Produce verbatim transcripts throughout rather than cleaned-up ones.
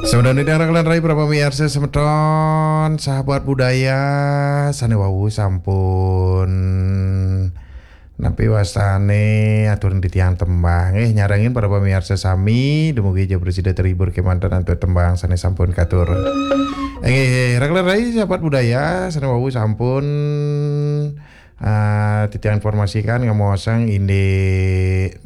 Semeton ingkang rai para pamiarsa semeton, sahabat budaya, sane wau sampun nampi wastane aturin titiang tembang. Eh, nyarengin para pamiarsa sami, dumugi ja prasida terhibur kemanten antuk tembang sane sampun katur. Inggih, rai sahabat budaya, sane wau sampun, ah, titiang informasikan ngemaosang indik,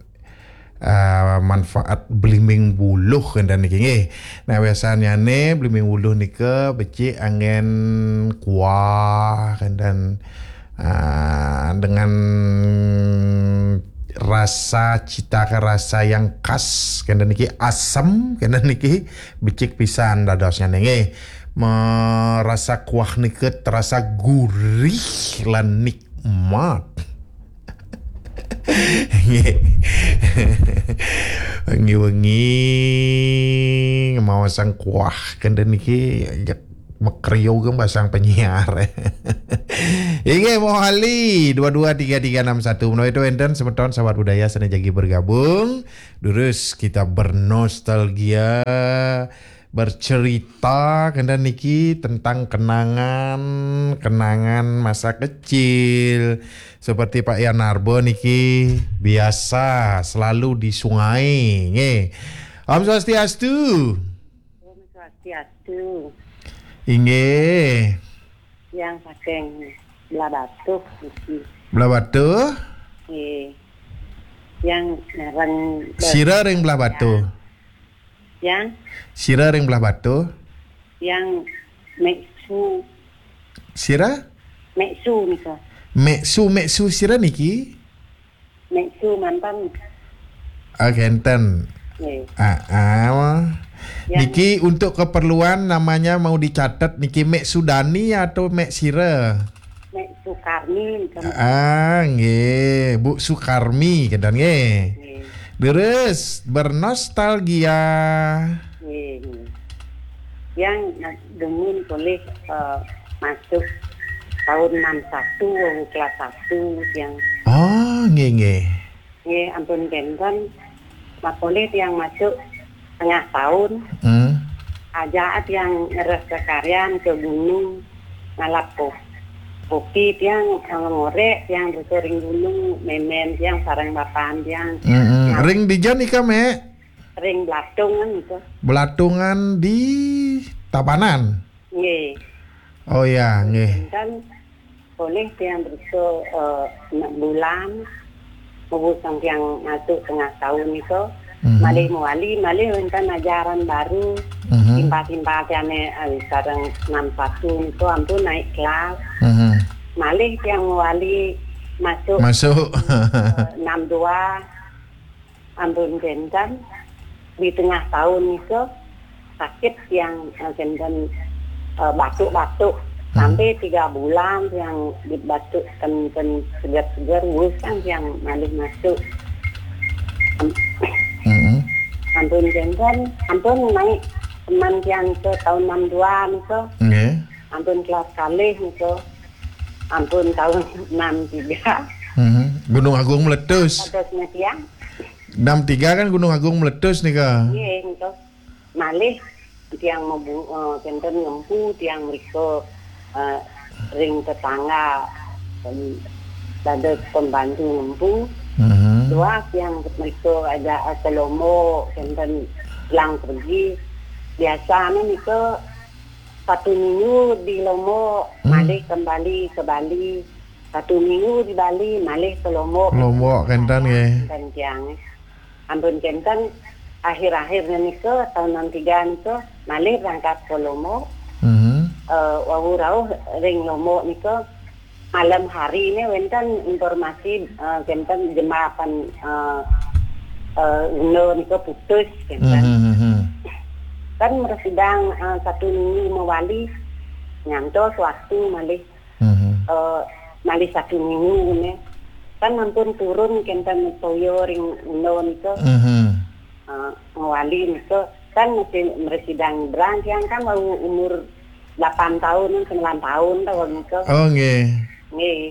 ah, manfaat blimbing wuluh kenten niki nggih. Nah, biasanyane blimbing wuluh nika becik anggen kuah kenten, ah, dengan rasa cita rasa yang khas kenten niki, asem kenten niki, becik pisan dadosnyane nggih. Merasa kuah nika terasa gurih lan nikmat. Nggih. Wengi-wengi ngemaosang kuah kenten niki, ya, makriu geng basang penyiar. Inggih, mawali dua dua tiga tiga enam satu. Menawi itu enten semeton sahabat budaya sane jagi bergabung, durus kita bernostalgia, bercerita kenten niki tentang kenangan, kenangan masa kecil. Seperti Pak Yanarbo niki biasa selalu di sungai, nggih. Om Swastiastu. Om Swastiastu. Inggih. Yang saking Blahbatuh niki. Blahbatuh? Nggih. Yang ngarang Sira ring Blahbatuh. Yang? Sira ring Blahbatuh? Yang Meksu. Sira? Meksu nika. Meksu, Meksu sira niki? Meksu mantan. Ah, kenten. Nggih. Ah, ah. Yang niki untuk keperluan namanya mau dicatat niki, Mek Sudani atau Mek Sira? Mek Sukarni nika. Ah, nggih, Bu Sukarmi kenten nggih. Nggih. Leres, bernostalgia. Nggih, nggih. Yang na-, demen polih, eh, masuk tahun enam satu, wau kelas satu yang. Oh, nggih, nggih. Nggih, ampun kenten. Mapolih tiang masuk tengah tahun. Hmm. Aja tiang ngeres kekaryan ke gunung ngalap ko-, kopi tiang, eh, ngorek tiang ring gunung, memen tiang sareng bapan tiang. Hmm, hmm. Nah. Ring dija nika, Mek? Ring Belatungan nika. Belatungan di Tabanan? Nggih. Oh ya, nggih. Wenten polih tiang bersa, eh, enam bulan, mewusang tiang masuk tengah tahun nika, mhm, malih mewali, malih wenten ajaran baru, mhm, timpal-timpal tiang, eh, sareng enam satu nika ampun naik kelas. Mhm. Malih tiang mewali masuk, masuk, eh, enam dua. Ampun kenten, di tengah tahun nika sakit tiang, eh, kenten, eh, batuk-batuk. Hmm. Sampai tiga bulan tiang dibatuk kenten seger-seger, wusang tiang malih masuk. Am-, mm-mm, ampun kenten, ampun naik teman tiang ke tahun enam dua nika. Nggih. Ampun kelas kalih nika. Ampun tahun enam tiga. Hmm. Gunung Agung meletus. Kados tiang. Enam tiga kan Gunung Agung meletus nika. Nggih, nika. Malih tiang mebu-, eh, kenten ngempu tiang mrika, eh, ring tetangga, em, dados pembantu ngempu. Mhm. Dua tiang mrika aja ke Lombok, kenten pulang pergi. Biasane nika satu minggu di Lombok, hmm, malih kembali ke Bali. Satu minggu di Bali, malih ke Lombok. Lombok kenten nggih. Kenten tiang. Ampun kenten, akhir-akhirnya nika, tahun enam tiga nika, malih berangkat ke Lombok. Mhm. Eh, wau rauh ring Lombok nika, malam hari ini wenten informasi, eh, kenten jembatan, eh, eh, Uno nika putus, kenten. Mhm, mhm. Kan mresidang, eh, satu minggu mewali, nyantos waktu malih, mhm, eh, malih satu minggu ini. Kan ampun turun kenten toya ring Uno nika. Mhm. Eh, mewali nika kan masih mresidang nyebrang, tiang kan baru umur delapan tahun, sembilan tahun tah wau nika. Oh, nggih. Nggih.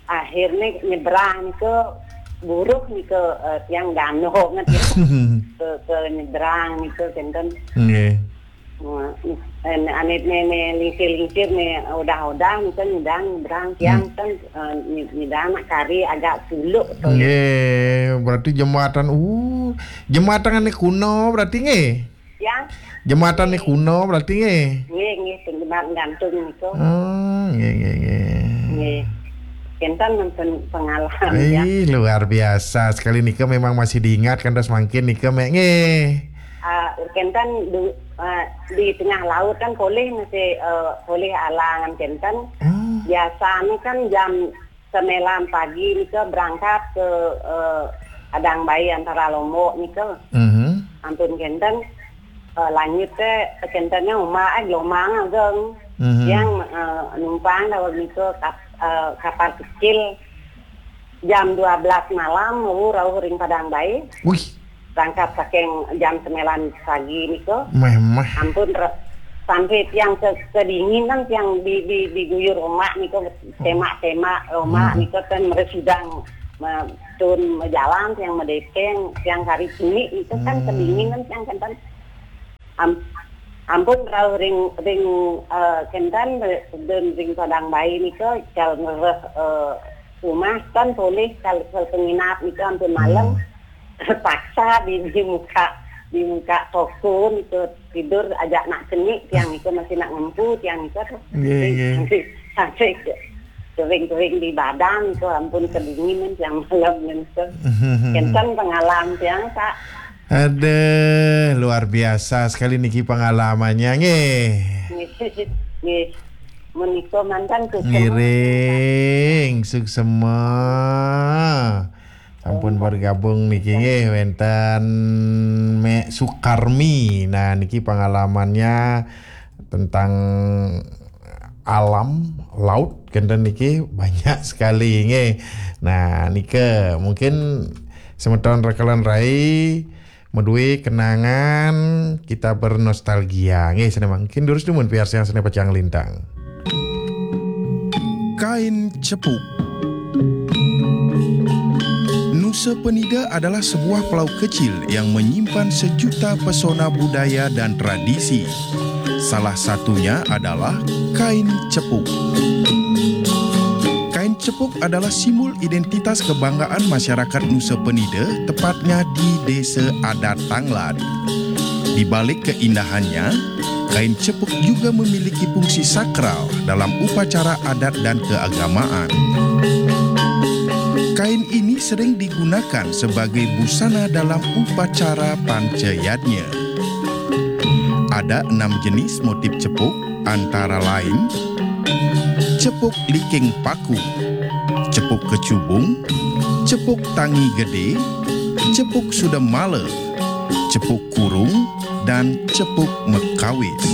Akhirnya nyebrang nika buruh nika, eh, tiang danoh nget ya. Ke, ke nyebrang nika kenten. Nggih. Wah, eh, ane ne, ne lingsir-lingsir ne odah-odah nika nyidang nyebrang tiang kan, eh, nyi-, nyidang nak kari agak suluk to. Nggih, berarti jembatan, uh, jembatan ane kuno berarti nggih. Ya. Jembatan ne kuno berarti nggih. Nggih, nggih, jembatan gantung nika. Oh, nggih, nggih, nggih. Nggih. Kenten nonton pengalaman ya. Ih, luar biasa sekali nika, memang masih diingat kan terus mangkin nika mek nggih. Ah, kenten du-, ah, di tengah laut kan polih masih, eh, polih alangan kenten. Oh. Biasanya kan jam sembilan pagi nika berangkat ke, eh, Padang Bayi antara Lombok nika. Mhm. Ampun kenten, eh, lanjut teh kentenya uma, eh, gelombang ageng. Mhm. Yang, eh, numpang daweg nika kap-, eh, kapal kecil. Jam dua belas malam, rauh ring Padang Bayi. Wih. Berangkat saking jam sembilan pagi nika. Meh, meh. Ampun, re-, sampai tiang ke-, kedinginan, tiang di, di, diguyur omak nika, semak-semak omak nika kan meresudang, me-, tun mejalan, tiang medepeng, tiang kari cenik nika kan kedinginan, tiang kan. Am-, ampun rauh ring, ring, eh, kenten, ring, ring Padang Bayi nika, kal ngereh, eh, rumah kan polih kal, kal penginap nika ampun malam. Terpaksa di, di muka, di muka toko nika tidur ajak nak cenik, tiang nika masih nak ngempu, tiang nika tuh. Nggih, nggih. Sampai, sampai ke-, kering-kering di badan nika ampun kedinginan tiang malam nika. Kenten pengalaman tiang, Pak. Aduh, luar biasa sekali niki pengalamannya, nggih. Nggih. Nggih. Menika mantan suksema. Ngiring, suksema. Sampun bergabung niki nggih, wenten Mek Sukarmi. Nah, niki pengalamannya tentang alam laut kenten niki banyak sekali nggih. Nah, nika mungkin semeton rekelan rai madue kenangan, kita bernostalgia nggih, sane mangkin durus dumun piarsayang sane pacang lintang. Kain Cepuk. Nusa Penida adalah sebuah pulau kecil yang menyimpan sejuta pesona budaya dan tradisi. Salah satunya adalah kain cepuk. Kain cepuk adalah simbol identitas kebanggaan masyarakat Nusa Penida, tepatnya di Desa Adat Tanglad. Di balik keindahannya, kain cepuk juga memiliki fungsi sakral dalam upacara adat dan keagamaan. Kain ini sering digunakan sebagai busana dalam upacara pancayadnya. Ada enam jenis motif cepuk, antara lain cepuk liking paku, cepuk kecubung, cepuk tangi gede, cepuk sudemala, cepuk kurung, dan cepuk mekawis.